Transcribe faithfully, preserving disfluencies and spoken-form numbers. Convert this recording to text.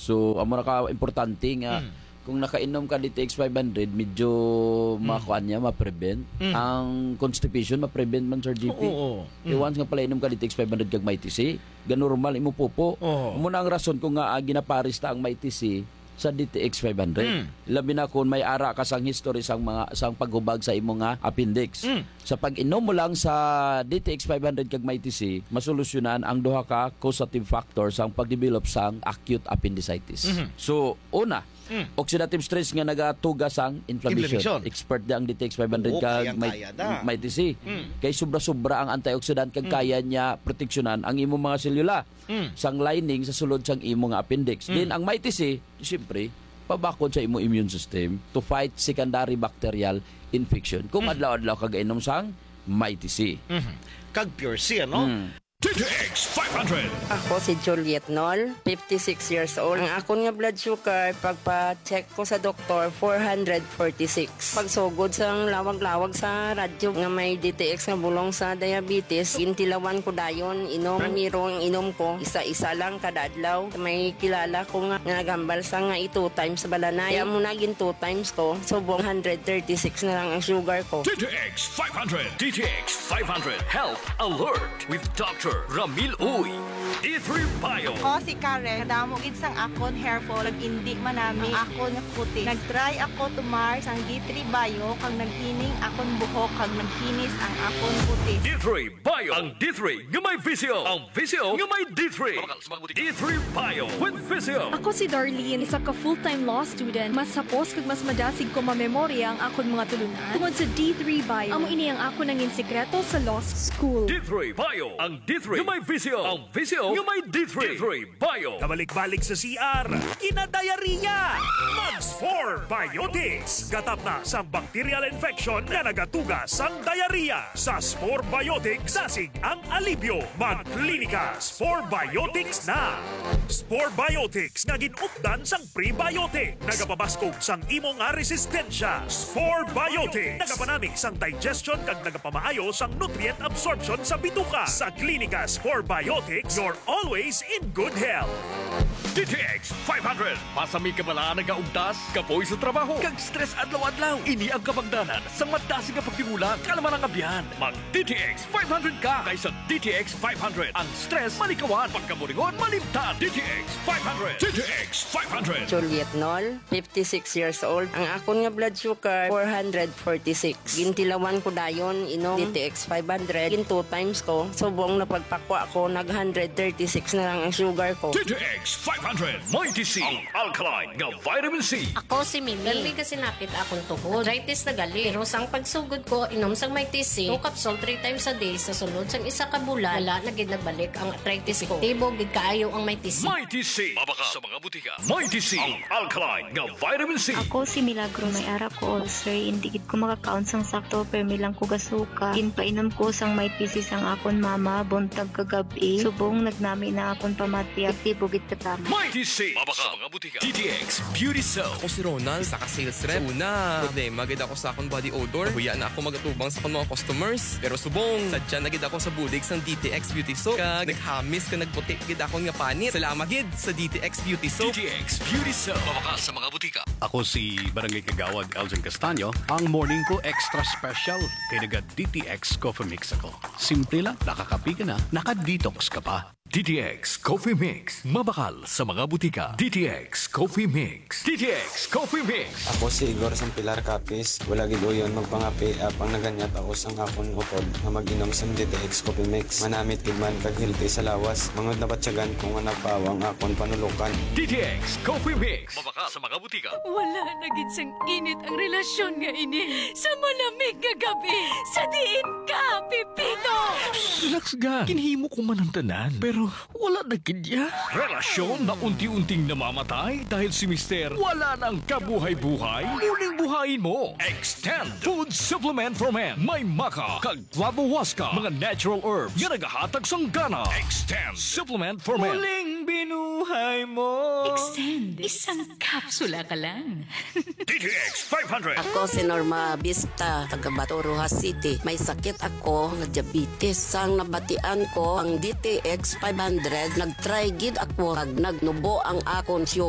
So, amo na ka importante nga Mm. kung nakainom ka D T X five hundred, medyo Mm. makuan niya, ma-prevent. Mm. Ang constipation, ma-prevent man, Sir G P. Oo, oo. Kay Mm. once nga palainom ka D T X five hundred kag Mighty C, ganormal imo pupo. Oo. Amo na ang rason kung nga, ah, ginapares ta ang Mighty C sa D T X five hundred. Mm. Labi na kung may ara ka sang history sang mga, sang paghubag sa imo nga appendix. Mm. Sa pag-inom mo lang sa D T X five hundred kag Mighty C, masolusyonan ang duha ka causative factor sang pag-develop sang acute appendicitis. Mhm. So, una, Mm. oxidative stress nga nagatuga sang inflammation. Inflammation. Expert di ang D T X five hundred Oo, kag kayang Might-, kaya da. Mighty C. Mm. Kay sobra-sobra ang antioxidant kag Mm. kaya niya proteksyonan ang imong mga selula Mm. sang lining sa sulod sang imo nga appendix. Mm. Then, ang Mighty C, siyempre, pabakod sa imo immune system to fight secondary bacterial infection. Kung Mm. adlaw-adlaw ka gainom sang Mighty C. Mhm. Kag Pure C, ano? Mm. D T X five hundred. Ako si Juliet Nol, fifty-six years old. Ang akon nga blood sugar, pagpa-check ko sa doktor, four hundred forty-six. Pagsugod sang lawag-lawag sa radyo nga may D T X nga bulong sa diabetes, gintilawan ko dayon, inom. Primero ang inom ko, isa-isa lang kada adlaw. May kilala ko nga, nga nagambal sa nga i-two times balanay. Kaya mo naging two times ko, subong hundred thirty-six na lang ang sugar ko. D T X five hundred. D T X five hundred Health Alert with Doctor Ramil Uy. D three Bio. Ako si Karen. Kadamo gid sang akon hair fall, kag indi manami ang akon nga kutis. Nag-try ako tumar sang D three Bio, kag naghining akon buhok, kag nagkinis ang akon kutis. D three Bio. Ang D three nga may visyo. Ang visyo nga may D three. D three Bio with visyo. Ako si Darlene, isa ka full-time law student. Mas hapos kag mas madasig ko mamemorya ang akon mga tulunan tungod sa D three Bio. Amo ini ang akon nangin sikreto sa law school. D three Bio. Ang D three nga may visyo. Ang visyo nga may D three. D three Bio. Kabalik-balik sa C R, kinadiarrhea. Mag Spore Biotics. Gatap na sang bacterial infection nga nagatuga sang diarrhea. Sa Spore Biotics, dasig ang alibyo. Mag-Klinika Spore Biotics na. Spore Biotics nga gin-updan sang prebiotic. Nagapabaskog sang imo nga resistensya. Spore Biotics. Nagapanami sang digestion kag nagapamaayo sang nutrient absorption sa bituka. Sa Klinika Spore Biotics, you're always in good health. D T X five hundred. Pasami ka bala nagaugtas, kapoy sa trabaho, kag stress adlaw-adlaw. Ini ang kabangdanan sang madasig nga pagtimula, kalma nga biyan. Mag D T X five hundred ka kay sa D T X five hundred. Ang stress malikawan, pagkaburingon malimtan. D T X five hundred. D T X five hundred. Juliet Nol, fifty-six years old. Ang akon nga blood sugar, four hundred forty-six. Gintilawan ko dayon, inom D T X five hundred. Gin two times ko. Subong na pagpakwa ko, nag hundred thirty-six na lang ang sugar ko. D T X five hundred, Mighty C, ang alkaline nga vitamin C. Ako si Mimi. Permi ka sinapit akon tuhod. Arthritis na gali. Pero sang pagsugod ko, inom sang Mighty C, two capsule three times a day, sa sulod sang isa ka bulan, wala na gid nagbalik ang arthritis ko. Epektibo gid kaayo ang Mighty C. Mighty C. Mabakal sa mga butika. Mighty C, ang alkaline nga vitamin C. Ako si Milagros. May ara ko ulcer, indi gid ko makakaon sang sakto, permi lang ko gasuka. Ginpainom ko sang Mighty C sang akon mama, buntag kag gab-i. Subong nagnami na akon pamati, epektibo gid katama. Mighty C, mabakal sa mga butika. D T X Beauty Soap. Ako si Ronald, isa ka sales rep. Sa una, problema gid ako sa akon body odor. Nahuya na ako magatubang sa akon mga customers. Pero subong, sadya na gid ako sa bulig sang D T X Beauty Soap. Kag naghamis kag nagputi gid akon nga panit. Salamat gid sa D T X Beauty Soap. D T X Beauty Soap. Mabakal sa mga butika. Ako si Barangay Kagawad Elgin Castaño. Ang morning ko extra special kay naga D T X Coffee Mix ako. Simple lang, nakakape ka na, naka-detox ka pa. D T X Coffee Mix, mabakal sa mga butika. D T X Coffee Mix. D T X Coffee Mix. Ako si Igor sang Pilar Capiz. Wala gid uyon magpangape, apang naganyat ako sang akon utod nga mag-inom sang D T X Coffee Mix. Manamit gid man kag healthy sa lawas. Mangod nabatyagan ko nga nagpaawa ang akon panulukan. D T X Coffee Mix. Mabakal sa mga butika. Wala na gid sang init ang relasyon nga ini. Sa malamig nga gabi, sa diin ka, Pepito? Relax ka. Ginhimo ko man ang tanan, pero wala na gid ya. Relasyon na unti-unting namamatay dahil si Mister wala nang kabuhay-buhay. Muling buhayin mo. Extend Food Supplement for Men. May maca kag flavohuasca, mga natural herbs nga nagahatag sang gana. Extend Supplement for Men. Muling binuhay mo. Extend. Isang kapsula ka lang. D T X five hundred. Ako si Norma Vista, taga Bato, Roxas City. May sakit ako nga diabetes. Sang nabatian ko ang D T X five hundred, nag-try gid ako kag nagnubo ang akon sugar.